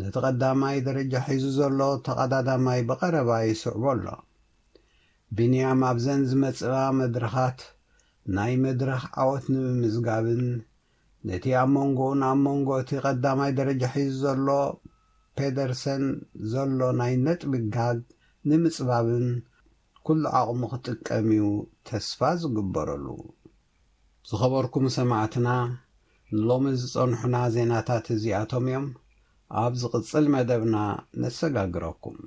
ነቲ ቀዳማይ ደረጃ ሒዙ ዘሎ ተቐዳዳማይ ብቐረባ ይስዕቦ ኣሎ። ቢንያም ኣብዘን ዝመጽኣ መድረኻት ናይ መድረኽ ዓወት ንምምዝጋብን ነቲ ኣብ መንጎኡን ኣብ መንጎ እቲ ቀዳማይ ደረጃ ሒዙ ዘሎ ፔደርሰን ዘሎ ናይ ነጥቢ ጋግ ንምጽባብን ኩሉ ዓቕሙ ክጥቀም እዩ ተስፋ ዝግበረሉ። ዝኸበርኩም ሰማዕትና፣ ንሎሚ ዝጸንሑና ዜናታት እዚኣቶም እዮም። ኣብ ዝቕጽል መደብና ነሰጋግረኩም።